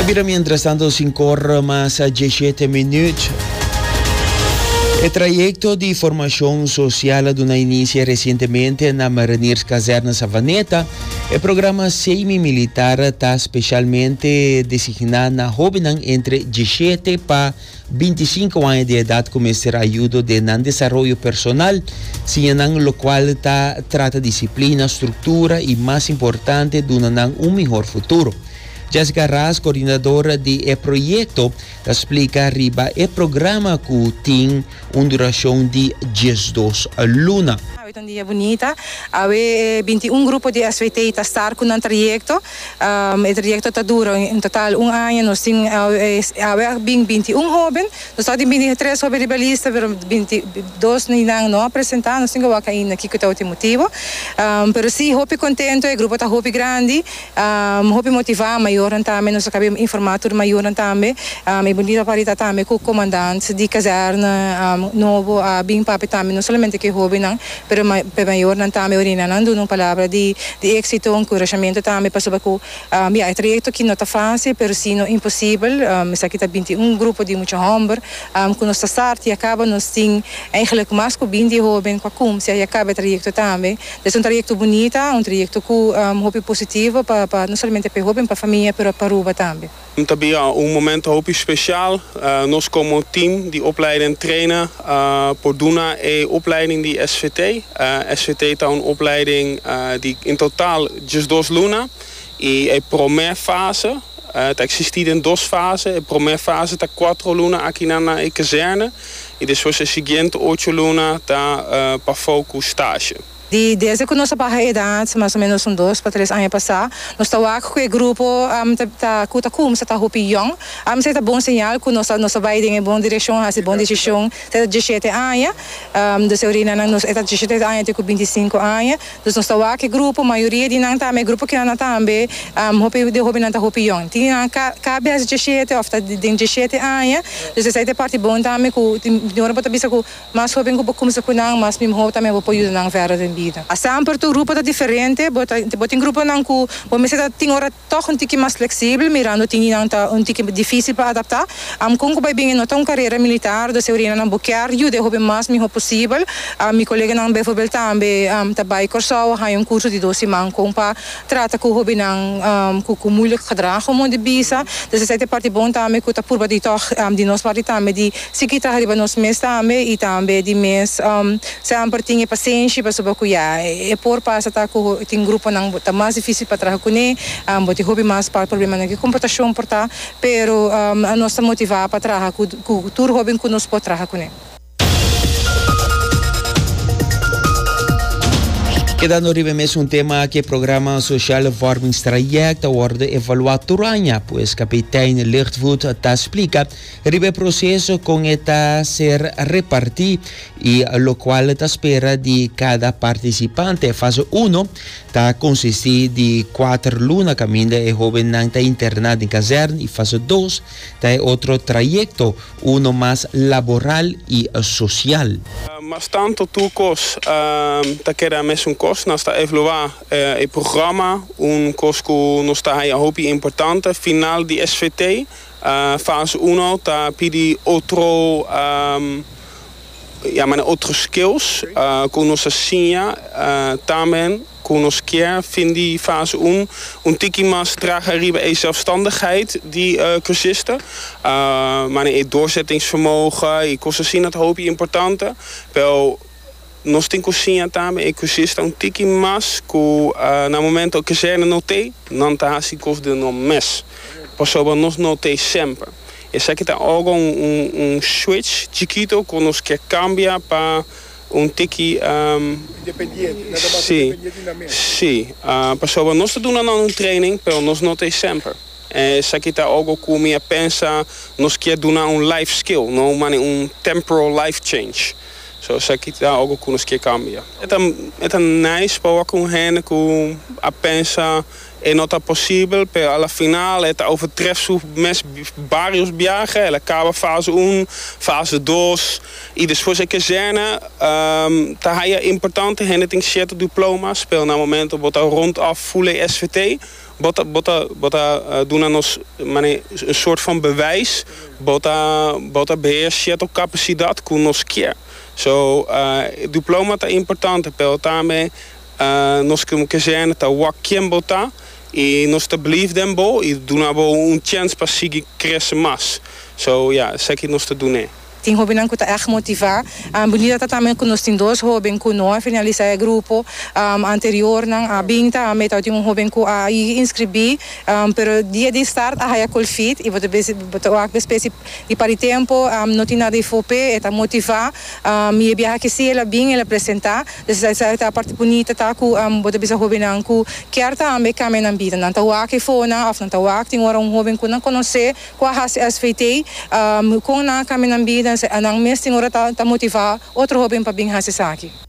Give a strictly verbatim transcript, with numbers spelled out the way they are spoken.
Bira mientrastanto sinc'or mas diesshete minuut. E trayecto di formacion social a duna inicio recientemente na Marinierskazerne Savaneta. E programa semi-militar ta specialmente designa na hobennan entre diesshete pa binticinco aña di edad cu mester ayudo den nan desaroyo personal, siña nan locual ta trata disciplina, structura y mas importante duna nan un mihor futuro. Jessica Ras, coordinadora di e proyecto, ta splica riba e programa cu tin un duracion di diesdos luna. Un dia bunita. Awe bintiun grupo di S V T ta start cu un trayecto. Um, e trayecto ta dura en total un aña. Nos tin awe bin bintiun hoben. Nos tin bintitres hoben riba lista, pero bintidos nan no a presenta. Nos tin cu ainda kico ta e motibo. Um, pero si, hopi contento, e grupo ta hopi grandi, um, hopi motiva, mayor tambe, nos a caba di informa tur mayor tambe. Um, e bunita parti tambe cu comandante di kazerne um, nobo a bin papia tambe, no solamente cu hobennan, pero ma, pa mayornan tambe orina nan duna un palabra di di exito, encouragement tambe pasobra cu um, ja, e trayecto cu no ta facil, pero si no imposibel. Um, esaki ta bintiun grupo di mucha homber, um, cu nos start y caba nos tin eigenlijk mas cu binti hoben cu a cuminsa y caba e trayecto tambe. Dus un trayecto bunita, un trayecto cu um, hopi positivo pa, pa no solamente pa hoben, pa famia, pero pa Aruba tambe. Tambe un momento hopi special. Uh, nos como team di opleiden en trainen uh, por duna e opleiding di S V T. Uh, S V T ta un opleiding uh, di in totaal diesdos luna. Y e prome fase, uh, ta existi den dos fase. E prome fase ta cuater luna aki na na kazerne. Y despues e siguiente ocho luna ta uh, pa focus stage. Di, desde cu nos a baha edad, mas o menos un dos pa tres aña pasa, nos ta cu e grupo um, ta, ta, cu ta cuminsa ta hopi jong. Um, esey ta bon señal cu nos nos ta bay den bon direccion, haci bon decision. Ta diesshete aña, um, dus orina nan nos ta diesshete aña te cu binticinco aña. Dus nos ta cu e grupo, mayoria di nan tambe, grupo cu nan tambe, um, hopi di hopi nan ta hopi jong. Tin nan caba diesshete of ta den diesshete aña. Dus esey ta parti bon tambe cu di ora bo ta bisa cu mas hoben cu cuminsa cu nan, mas miho tambe bo por yuda nan verder den bida. Semper e grupo ta diferente, bo bo tin grupo nan cu bo mester tin ora toch un tiki mas flexibel, mirando tin nan ta un tiki dificil pa adapta. Am con cu bay bin no ta un carera militar, dus orina nan bo kier yuda hopi mas miho posibel. Um, mi coleganan bijvoorbeeld tambe um, ta bay Corsou, hay un curso di dos siman con pa trata cu hobennan um, cu cu moeilijk gedrag om di bisa. Dus esey ta parti bon tambe cu ta purba di toch um, di nos parti tambe di sigui traha riba nos mes tambe y tambe di mes um, semper tin pasenshi pasobra cu ya e por pasa ta cu tin gruponan ta mas dificil pa traha cu ne, um, bo tin hopi mas pa problema na comportacion por ta, pero um, nos ta motiva pa traha cu cu tur hoben cu nos por traha cu ne. Kedando riba mesun tema cu e programa Sociale Vormingstraject ta wordo evalua tur aña, pues kapitein Lichtvoet ta splica riba e proceso con ta ser reparti y locual ta spera di cada participante. Fase un ta consisti di cuater luna caminda e hobennan ta interna den kazerne y fase dos ta otro trayecto, uno mas laboral y social. Uh, mas tanto tur cos uh, ta keda mesun cos, nos ta evalua uh, e programa, un cos cu nos ta hopi importante, final di S V T, uh, fase un ta pidi otro um, ja, maar otro skills uh, cu nos a siña uh, tambe cu nos kier fin di fase un un tiki mas traha riba e zelfstandigheid di uh, cursisten. Uh, maar het doorzettingsvermogen, e cos asina ta hopi importante. Pero nos tin cu siña tambe e cursista un tiki mas cu uh, na momento cu kazerne no t'ey, nan ta hasi cos di nan mes. Pasobra nos no t'ey semper. Esaki ta algo un, un, un switch chikito cu nos kier cambia pa un tiki um, Independiente, nada mas Si, independiente na mes. Si. Uh, pasobra nos ta duna un training, pero nos no t'ey semper. Esaki ta algo cu mi a pensa, nos kier duna un life skill, no maar un temporal life change. So esaki ta algo cu nos kier cambia. E ta nice pa cu hende cu a pensa e no ta posibel, pero al final e ta overtreft su mes varios biaha, el a caba fase un, fase dos, y despues e kazerne, um, ta haya importante, hende tin cierto diploma's, pero na momento bo ta rond af full S V T, Bo ta bo ta bo ta uh, duna nos mane un soort van bewijs, bo ta bo ta beheer e kapasidat ku nos ke. So, uh, diploma ta importante, pero tambe uh, nos komo kazerne ta wak ken bo ta i nos ta believe den bo i duna bo un chance pa sigui krese mas. So ja, esaki nos ta duna. Tin hóbennan ku ta echt motivá. Um, bunita ta tambe ku nos tin dos hóben ku no a finalisá e grupo um, anterior nan a bin tambe tin un hóben ku a inskribí, um, pero dia di start a haya COVID i bo ta wak especie di para tempu um, no tin nada di F O P, ta motivá um, i biaha ku si el a bin, el a presentá. Dus esei ta e parti bunita ta ku um, bo ta bisa hóbennan ku ke tambe kambia nan bida, nan ta wak fona òf nan ta wak tin ora un hóben ku nan konosé ku a hasi S V T, um, ku nan kambia nan bida, nan mes tin ora ta, ta motivá otro hóben pa bin hasi esaki.